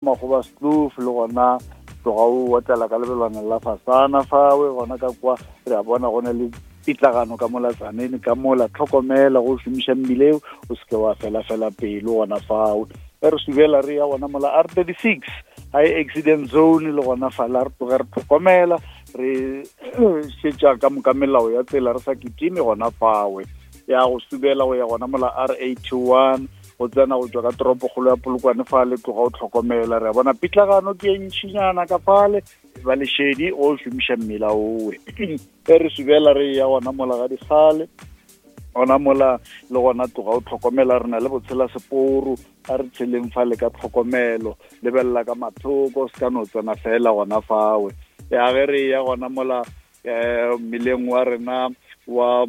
Makgobaskloof le gona tloga o otlela ka lebelwana la fasana fawe gona ka kwa re a bona go na le pitlagano ka mola tsanene ka mola tlhokomela go šomiša mmile eo o seke wa fela fela pelo gona fawe ge re subela re ya gona mola r 36 high accident zone le gona fala re tloge re tlhokomela re šetša ka moka melao ya tsela re sa kitime gona fawe ya go subela go ya gona mola r 81 go tsena go tswa ka toropokgolo ya polokwane fale tloga o tlhokomela re a bona pitlagano ke e ntšhinyana ka fale ba lešedi o šomiša mmila owe e re subela re ya gona mola ga digale gona mola le gona tloga o tlhokomela re na le botshela seporo a re tsheleng fale ka tlhokomelo lebelela ka mathoko se ka no tsena fela gona fawe ya ge re ya gona mola um mmileng wa rena wa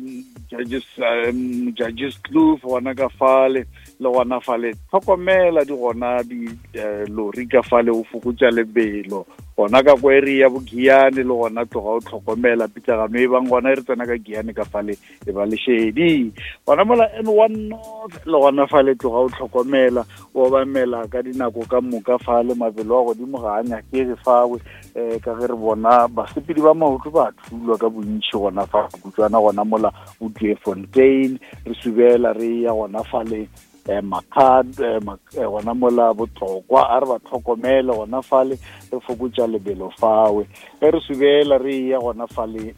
judges um, judges kloof gona ka fale le gona fale tlhokomela di gona di eh, lori ka fale o fokotša lebelo gona ka kwa area ya bogiane le gona tloga o tlhokomela pitlagano e bang gona e re tsena ka giane ka fale e ba lešedi gona mola n one north le gona fale tloga o tlhokomela o obamela ka dinako ka moka fale mabelo a godimo ga a nyakege fawe um ka ge re bona basepedi ba maoto ba thulwa ka bontšhi gona fa kutswana gona mola o re subela re ya gona fale um makgad eh, eh, gona mola botlokwa a re ba tlhokomele gona fale re fokotša lebelo fawe ge re subela re ya gona fale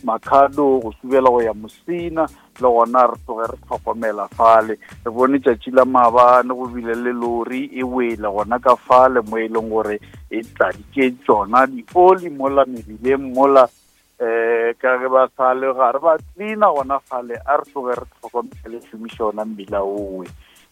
makhado go subela go ya mosina le gona re tloge re tlhokomela fale re bone tšatši la maabane go bile le lori e wele gona ka fale mo e leng gore e tladitše tšona dioli mola mebileng mola um ka ge ba sale gare ba tlina gona fale a re tloge re tlhokomele šomiša ona mmila owe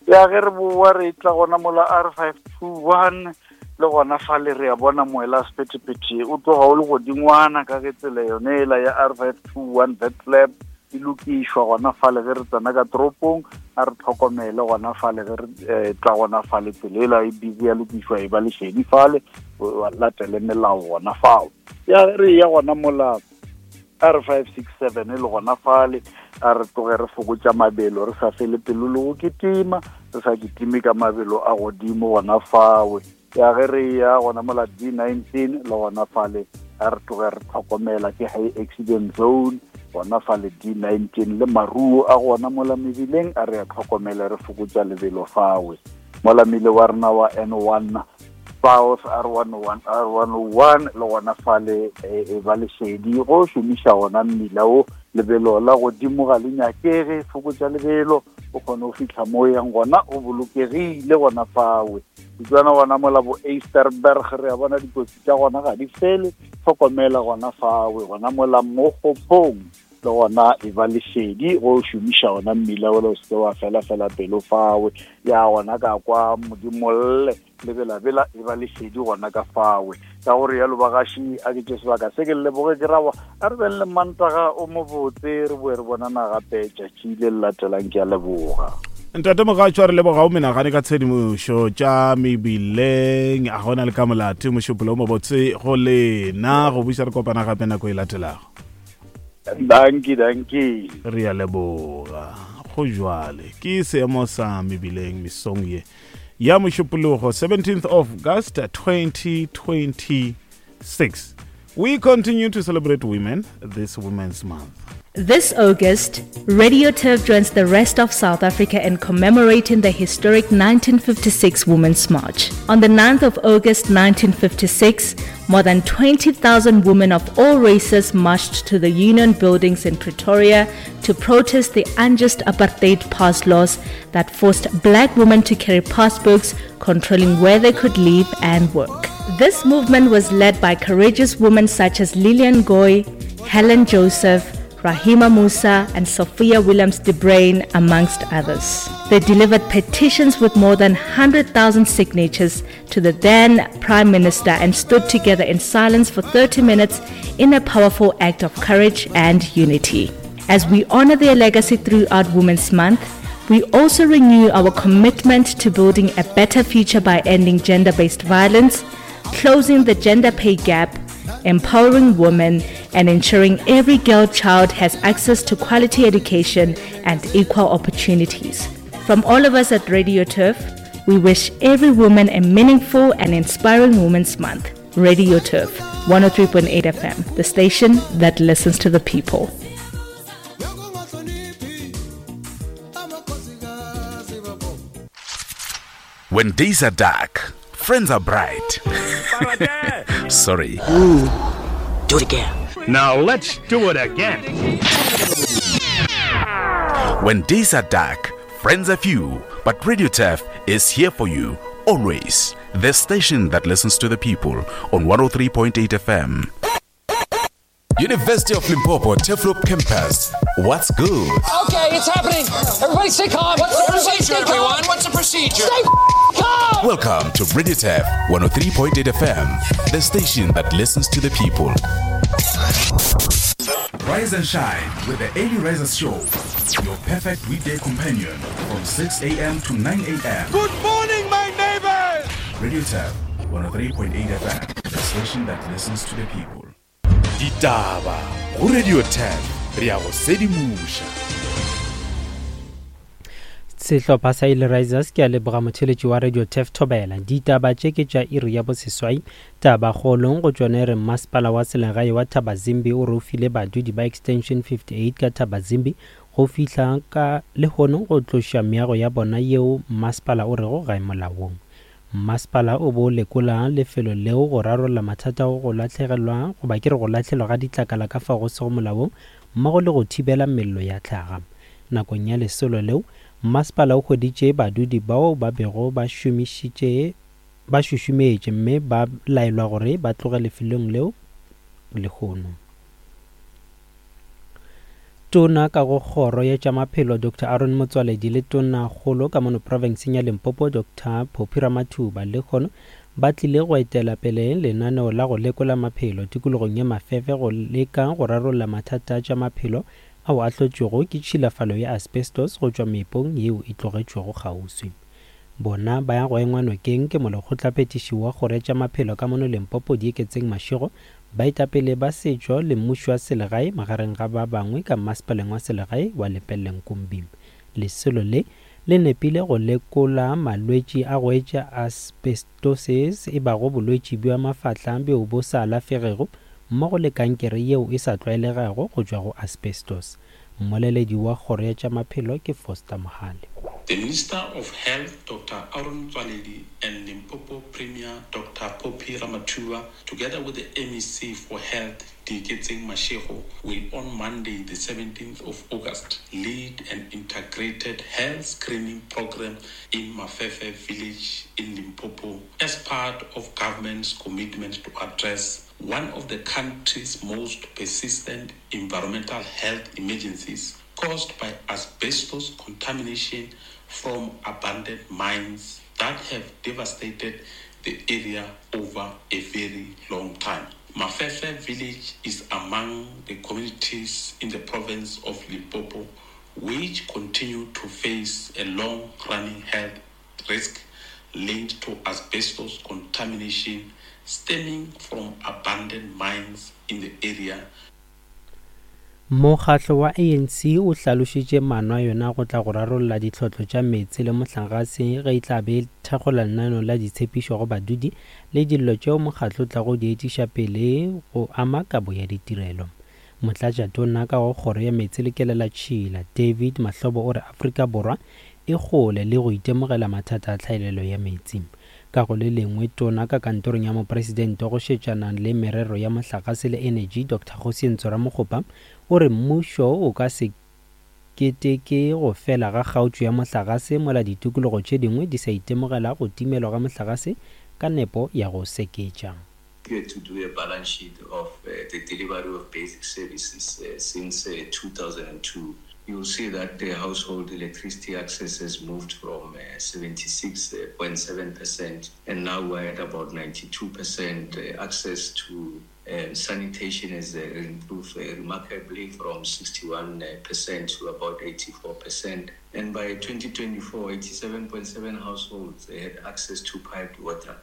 ya ge re boa re tla gona mola r 521 le gona fale re a bona moela sephethephethe o tloga o le godingwana ka ge tsela yone ela ya r 521 vetlab e lokišwa gona fale ge re tsena ka toropong a re tlhokomele gona fale ge re eh, tla gona fale tsela ela e busy ya lokišwa e ba lešedi fale latele melao gona fao ya re ya gona mola r 567 le gona fale a re tloge re fokotša mabelo re sa fele pelo le go kitima re sa kitime ka mabelo a godimo gona fawe ya ge re ya gona mola d 19 le gona fale a re tloge re tlhokomela ke high accident zone gona fale d 19 le maruo a gona mola mebileng a re a tlhokomele re fokotša lebelo fawe mola mile wa rena wa n 1 South R101 R101 le gona fale e, e ba lesedi go šomiša gona mmila o lebelo la godimo ga le nyakege fokotša lebelo o kgone go fitlha mo yang gona o bolokegile gona fawe ditswana gona mola bo Easterberg re a bona dikotsi tša gona ga di fele tlhokomela gona fawe gona mola mo gophong le gona e ba lesedi go šomiša gona mmila ola o seke wa fela fela pelo fawe ya gona ka kwa modimolle lebelabela e ba lesedi gona ka fawe ka gore yalo bagaši a ke tše sebaka se ke leboge ke rawa a re beng le mantaga o mobotse re boe re bonana gape tšatši le le latelang ke a leboga ntate mogatšo a re leboga o menagane ka tshedimošo tša mebileng a gona le ka molate mošupolo o mobotse go lena go buša re kopana gape nako e latelago danki danki re a leboga go jwale ke seemo sa mebileng mesong ye ya mošupologo 17th of august 2026 we continue to celebrate women this women's month This August, Radio Turf joins the rest of South Africa in commemorating the historic 1956 Women's March. On the 9th of August 1956, more than 20,000 women of all races marched to the Union buildings in Pretoria to protest the unjust apartheid pass laws that forced black women to carry passbooks controlling where they could live and work. This movement was led by courageous women such as Lillian Goy, Helen Joseph, Rahima Moosa, and Sophia Williams de Bruyn, amongst others. They delivered petitions with more than 100,000 signatures to the then Prime Minister and stood together in silence for 30 minutes in a powerful act of courage and unity. As we honor their legacy throughout Women's Month, we also renew our commitment to building a better future by ending gender based violence, closing the gender pay gap, empowering women, and ensuring every girl child has access to quality education and equal opportunities. From all of us at Radio Turf, We wish every woman a meaningful and inspiring Women's Month. Radio Turf, 103.8 FM, the station that listens to the people. When days are dark, friends are bright. Sorry. Ooh, do it again. Now let's do it again. When days are dark, friends are few, but Radio Turf is here for you always. The station that listens to the people on 103.8 FM. University of Limpopo Turfloop Campus. What's good? Okay, it's happening. Everybody stay calm. What's the procedure, Everybody stay calm. everyone? What's the procedure? Stay calm. Welcome to Radio Turf 103.8 FM, the station that listens to the people. Rise and shine with the Early Risers Show, your perfect weekday companion from 6 a.m. to 9 a.m. Good morning, my neighbors! Radio Turf 103.8 FM, the station that listens to the people. Ditaba go Radio 10 re a go sedimoša. Sehlopha sa Early Risers ke a leboga motheletši wa Radio Turf Thobela. Ditaba tše ke tša iri ya boseswai. Tabakgolong go tšona e re Mmasepala wa Selegae wa Thabazimbi o re o file badudi ba Extension 58 ka Thabazimbi go fihla ka lehono go tloša meago ya bona yeo mmasepala o rego ga e molaong. Mmasepala o be o lekola lefelo leo go rarolla mathata a go lahlegelwa goba ke re go lahlelwa ga ditlakala ka fao go sego molaong mmogo le go thibela mello ya tlhaga. Nakong ya lesolo leo, mmasepala o hweditše badudi bao ba bego ba šomišitše ba šušumetše mme ba laelwa gore ba tloge lefelong leo lehono. Tona ka go Kgoro ya tša Maphelo Doctor Aaron Motsoaledi le Tonakgolo ka mono profenseng ya Limpopo Doctor Phophi Ramathuba lehono ba tlile go etela pele lenaneo la go lekola maphelo tikologong ya Mafefe go leka go rarolla mathata a tša maphelo ao a hlotšwego ke tšhilafalo ya asbestos go tšwa meepong yeo e tlogetšwego kgauswi. Bona ba ya go engwa nokeng ke molekgotlaphethiši wa Kgoro ya tša Maphelo ka mono Limpopo Dieketseng Mashego, baetapele ba setšo le mmušo wa selegae magareng ga ba bangwe ka mmasepaleng wa selegae wa Lepelle-Nkumbi. Lesolo le le nepile go lekola malwetši a go etša asbestosis e bago bolwetši bja mafahla bjo bo sa alafegego mmogo le kankere yeo e sa tlwaelegago go tšwa go asbestos. Mmoleledi wa Kgoro ya tša Maphelo ke Foster Mohale. The Minister of Health Doctor Aaron Motsoaledi and Limpopo Premier Doctor Phophi Ramathuba together with the MEC for Health Dieketseng Mashego will on Monday the 17th of August lead an integrated health screening program in Mafefe village in Limpopo as part of government's commitment to address one of the country's most persistent environmental health emergencies caused by asbestos contamination from abandoned mines that have devastated the area over a very long time. Mafefe village is among the communities in the province of Limpopo which continue to face a long-running health risk linked to asbestos contamination stemming from abandoned mines in the area. Mokgatlo wa ANC o hlalošitše maano a yona go tla go rarolla ditlhotlo tša meetse le mohlagase ge e tla be e thakgola lenaneo la ditshepišo go badudi le dillo tšeo mokgatlo o tlago di etiša pele go ama kabo ya ditirelo. Motlatšatona ka go Kgoro ya Meetse le Kelelatšhila, David Mahlobo o re Afrika Borwa e kgole le go itemogela mathata a tlhaelelo ya meetse. Ka go le lengwe, Tona ka kantorong ya Mopresidente go šetšana le merero ya mohlagase le enetši, Doctor Kgosientsho Ramokgopa, o re mmušo o ka se keteke go fela ga kgaotšo ya mohlagase mola ditikologo tše dingwe di sa itemogela go timelwa ga mohlagase ka nepo ya go seketša. Here to do a balance sheet of the delivery of basic services since 2002, you'll see that the household electricity access has moved from 76.7% and now we're at about 92%. Access to sanitation has improved remarkably from 61% to about 84%. And by 2024, 87.7 households had access to piped water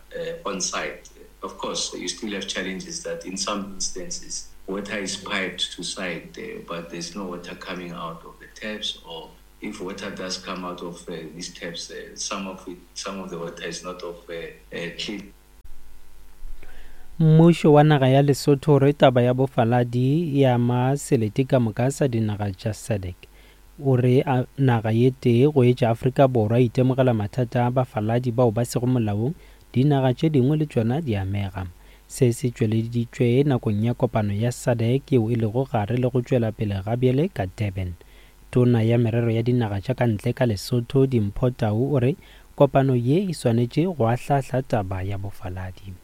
on site. Of course, you still have challenges that in some instances, water is piped to site, but there's no water coming out of the taps, or If water does come out of uh, these taps, uh, some of it, some of the water is not of uh, uh, clean. Mmušo wa naga ya Lesotho o re taba ya bofaladi e ama selete ka moka sa dinaga tša SADC. O re naga ye tee go etša Afrika Borwa e itemogela mathata a bafaladi bao ba sego molaong, dinaga tše dingwe le tšona di amega. Se se tšweleditšwe nakong ya kopano ya SADC yeo e lego gare le go tšwela pele gabjale ka Durban. Tona ya Merero ya Dinaga tša ka Ntle ka Lesotho, Dimpho Tau o re kopano ye e swanetše go ahlaahla taba ya bofaladi.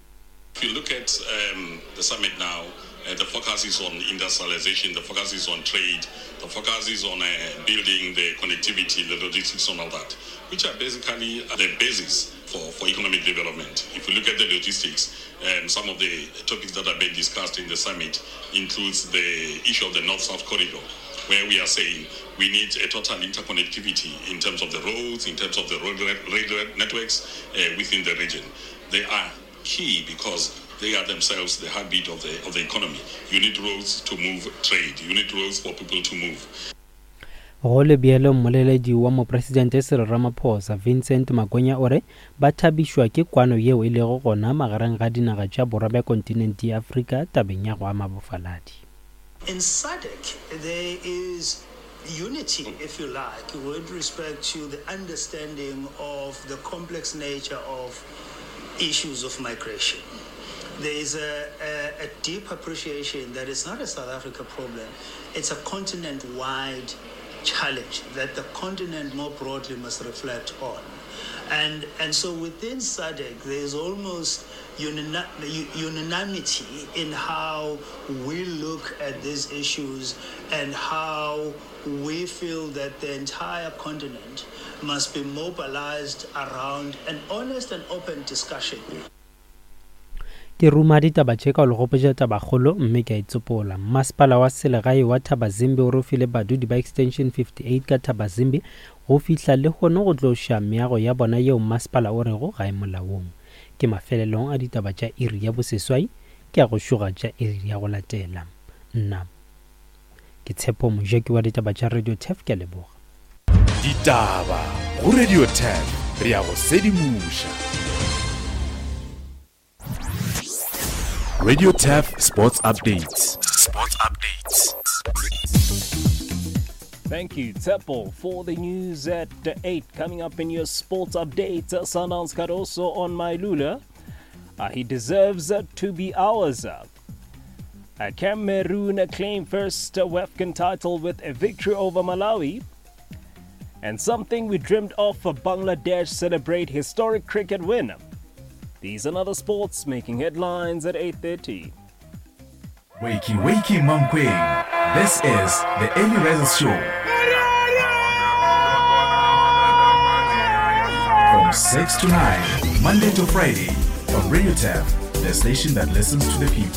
If you look at um, the summit now, uh, the focus is on industrialization, the focus is on trade, the focus is on uh, building the connectivity, the logistics, and all that, which are basically the basis for, for economic development. If we look at the logistics, um, some of the topics that have been discussed in the summit includes the issue of the North-South corridor, where we are saying we need a total interconnectivity in terms of the roads, in terms of the road railway networks uh, within the region. They are key because they are themselves the heartbeat of the, of the economy. You need roads to move trade. You need roads for people to move. Go le bjalo, mmoleledi wa Mopresidente Cyril Ramaphosa, Vincent Makwenya o re ba thabišwa ke kwano yeo e lego gona magareng ga dinaga tša borwa bja kontinente ya Afrika tabeng ya go ama bofaladi. In SADC there is unity, if you like, with respect to the understanding of the complex nature of issues of migration. There is a, a, a deep appreciation that it's not a South Africa problem, it's a continent wide challenge that the continent more broadly must reflect on. And, and so within SADC, there's almost unanimity in how we look at these issues and how we feel that the entire continent must be mobilized around an honest and open discussion. Ke ruma ditaba tše ka go le gopotša tabakgolo mme ke a e tsopola. Mmasepala wa selegae wa Thabazimbi o re o file badudi ba Extension 58 ka Thabazimbi go fihla lehono go tloša meago ya bona yeo mmasepala o rego ga e molaong. Ke mafelelong a ditaba tša iri ya boseswai, ke a go šoga tša iri ya go latela. Nna ke Tshepo Mojaki wa ditaba tša Radio Turf, ke a leboga. Ditaba go Radio Turf, re a go sedimoša. Radio Turf Sports Updates. Sports Updates. Thank you, Tsepo, for the news at 8. Coming up in your sports update, Sundowns Cardoso on Mailula. Uh, he deserves to be ours. Uh, Cameroon claim first WAFCON title with a victory over Malawi. And something we dreamed of for Bangladesh celebrate historic cricket win. These and other sports making headlines at 8.30. Wakey, wakey, Mankweng. This is the Early Risers Show. From 6 to 9, Monday to Friday, on Radio Turf, the station that listens to the people.